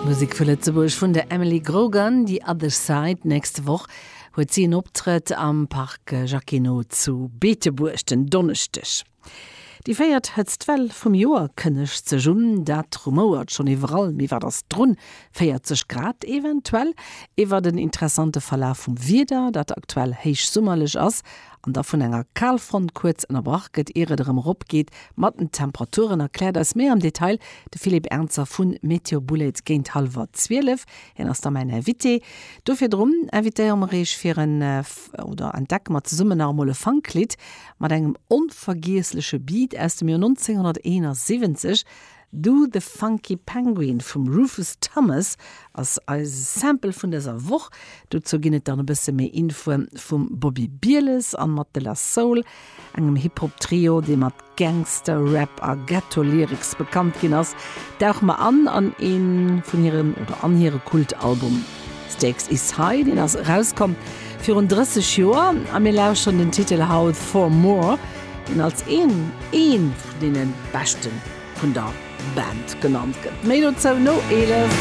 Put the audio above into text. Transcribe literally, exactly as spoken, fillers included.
Musek vu Lëtzebuerg vun der Emily Grogan, The Other Side. Nächst Woch huet si en Optrëtt am Parc Jacquinot zu Beetebuerg den Donneschdeg. Déi véiert Hëtztwell vum Joer kënnegt sech un, dat rumouert schonn iwwerall, mee wat ass drun? véierzeg Grad eventuell? Iwwer den interessante Verlaf vum Wieder, dat aktuell héichsummerlech ass an da vun enger Kalfront kuerz ënnerbrach gëtt, ier et erëm eropgeet mat den Temperaturen, erkläert eis méi am Detail de Philippe Ernzer vu Meteo Bullet géint hallwer zwielef. Hien ass da mäin Invité. Do virdrun invitéiere mer iech fir en, oder entdecke mer zesummen nach emol e Funklidd mat engem onvergiessleche Beat aus dem Joer nonzénghonnerteenasiwwenzeg. Do the Funky Penguin vum Rufus Thomas ass eise Sample vun dëser Woch. Dozou ginn et dann e bësse méi Infoe vum Bobby Bieles an mat De La Soul, engem Hip-Hop-Trio, dee mat Gangsta-Rap a Ghetto-Lyrics bekannt ginn ass, dauche mer an an ee vun hiren oder an hire Kultalbum Stakes Is High, deen ass erauskomm virun drësseg Joer a mir lauschteren den Titel haut Four More, deen als een een vun deene beschte vun der Band genannt gëtt. Méi dozou no eelef.